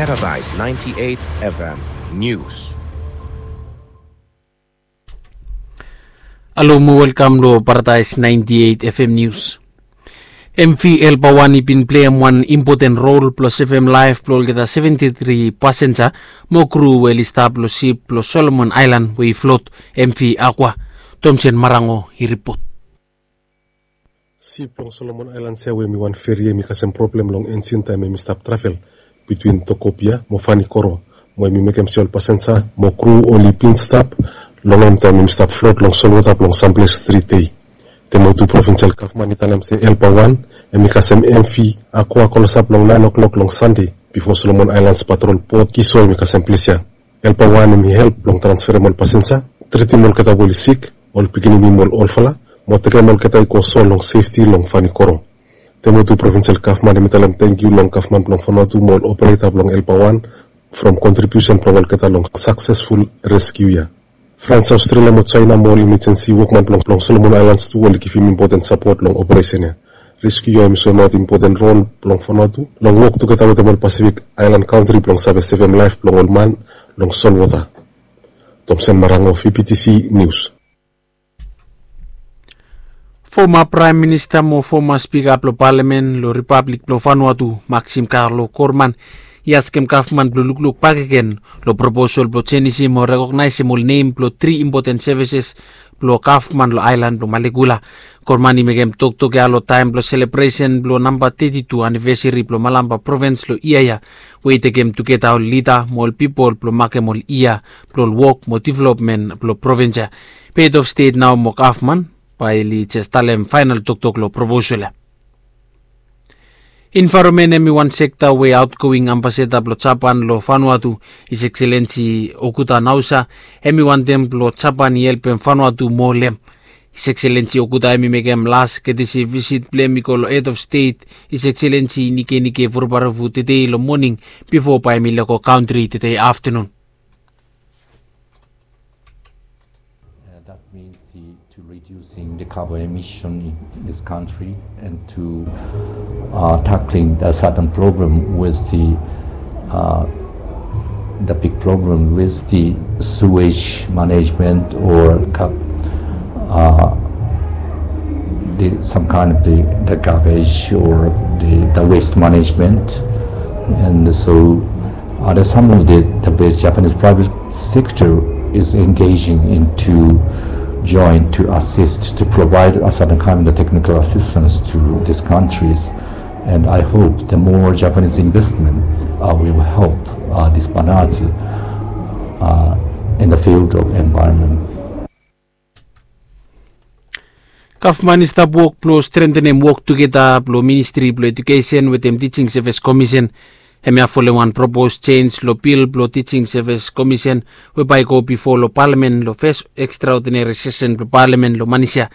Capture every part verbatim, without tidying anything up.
Paradise ninety-eight F M News. Alo mo welkam lo Paradise ninety-eight F M News. M V Elpa wan i bin pleim wan impoten rol blo sevem laef blo olgeta seventy-three pasenja mo kru we oli stap lo sip blo Solomon Aelan we i flot, M V Aqua. Tomsen Marango i ripot. Sip blong Solomon Aelan ya we hem i wan feri hem i kasem problem long enjin taem hem i stap travel bitwin Tokopia mo Vanikoro, mo hem i mekem se ol pasenja mo kru oli bin stap long hem taem hem i stap flot long solwota blong samples tri dei. Temotu provinsel gavman i talem se Elpa wan hem i kasem M V Aqua klosap long naen oklok long Sande bifo Solomon Aelan patrol bot Kiso hem i kasem ples ya. Elpa wan hem i help blong transferem ol pasenja, tritim olgeta we oli sik, ol pikinini mo ol olfala, mo tekem olgeta i go so long sefti long Vanikoro. Temotu provinsel gavman hem i talem tangkiu long gavman blong Vanuatu mo ol opereta blong Elpa wan from kontribiusen blong olgeta long saksesful reskiu ya. Frans, Aostralia mo Jaena mo ol imejensi wokman blong Solomon Aelans tu oli givim impoten sapot long operesen ya. Reskiu ya hem i soemaot impoten rol blong Vanuatu long wok tugeta wetem ol Pasifik aelan kantri blong save sevem laef blong ol man long solwota. Tomsen Marango, V P T C News. Foma Praem Minista mo foma Spika blo Palamen lo Ripablik blo Vanuatu, Maxim Carlo Corman, i askem gavman blo lukluk bakegen lo proposal blo jenisim o rekognaesem ol nem blo tri impoten sevises blo gavman lo aelan blo Malekula. Corman i mekem toktok ya lo taem blo selebresen blo namba teti tu anivesari blo Malampa provins lo yia ya, we i tekem tugeta ol lida mo ol pipol blo makem ol yia blo ol wok mo developmen blo provins ya. Be hed of stet nao mo gavman bae oli jes talem faenal toktok lo proposal ya. Envaeronmen hem i wan sekta we aotgoing ambasada blo Japan lo Vanuatu, His Excellency Okuda Naosa, hem i wantem blo Japan i helpem Vanuatu moa lo hem. His Excellency Okuda hem i mekem las ketesi visit blo hem i go lo hed of stet, His Excellency Nikenike Vurobaravu, tedei lo moning bifo bae hem i lego kantri tedei aftenun. Uh, that means the, to reducing the carbon emission in this country and to, uh, tackling the certain problem with the, uh, the big problem with the sewage management or ca-, uh, the, some kind of the, the garbage or the, the waste management. And so, uh, there's some of the, the ways Japanese private sector is engaging into join to assist, to provide a certain kind of technical assistance to these countries. And I hope the more Japanese investment, uh, will help, uh, this Vanuatu, uh, in the field of environment. Gavman i stap wok blo strentenem wok tugeta blo Ministri blo Ejukesen wetem Tijing Sevis Komisen. Hemia folem wan propos jenj lo bil blo Tijing Sevis Komisen we bae i go bifo lo Palamen lo fes ekstraodinari sesen blo Palamen lo manis ya.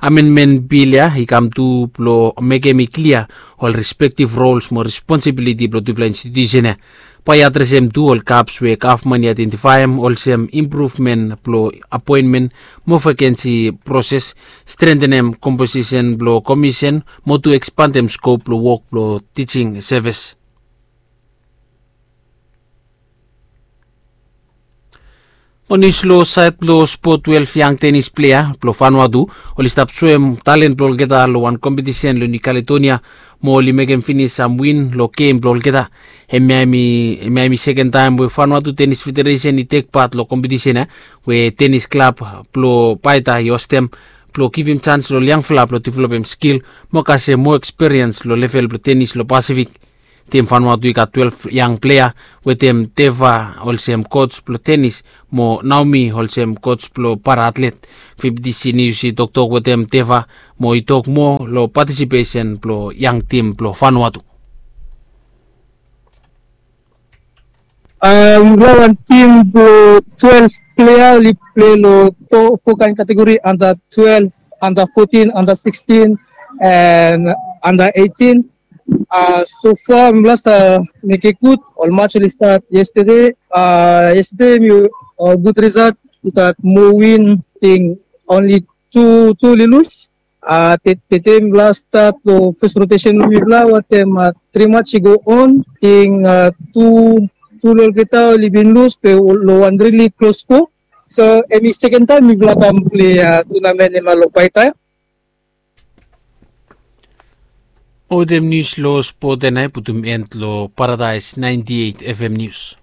Amenmen bil ya i kam tu blo mekem i klia ol respektiv rols mo responsibiliti blo tufala institiusen ya. Bae i adresem tu ol gaps we gavman i aedentifaem olsem impruvmen blo apoenmen mo vakensi proses, strentenem komposisen blo komisen mo tu ekspandem skop blo wok blo tijing sevis. Mo nius lo saed blo spot, twelef yang tenis plea blo Vanuatu oli stap soem talen blo olgeta lo wan kompetisen lo Niu Kaledonia mo oli mekem finis sam win lo gem blo olgeta. Hemia hem i, hemia hem i seken taem we Vanuatu Tenis Federesen i tek pat lo kompetisen ya, we tenis klab blo Paita i ostem blo givim jans lo ol yangfala blo developem skil mo kasem moa ekspiriens lo level blo tenis lo Pasifik. Tim Vanuatu i gat twelef yang plea, wetem Teva olsem koj blo tenis mo Naomi olsem koj blo paraatlet. V P T C Nius i toktok wetem Teva mo i tok moa lo patisipesen blo yang tim blo Vanuatu. Mifala wan tim blo twelef plea oli plei lo fo kaen kategori, anda twelef, anda fotin, anda sikstin, and anda eitin. Sofa mifala stap mekem gud. Ol maj oli stat yestede. Yestede mi gud risalt, i gat moa win, ting onli tu, tu oli lus. Tete mifala stat long fes rotesen blong mifala wantem tri mats i go on, ting tu tu long olgeta oli bin lus be long wan rili klos sko. So em i seken taem mifala kam plei tunamen em long paitaem. Olgeta nius long spot ya nao i putum en long paradaes naenti eit fm nius.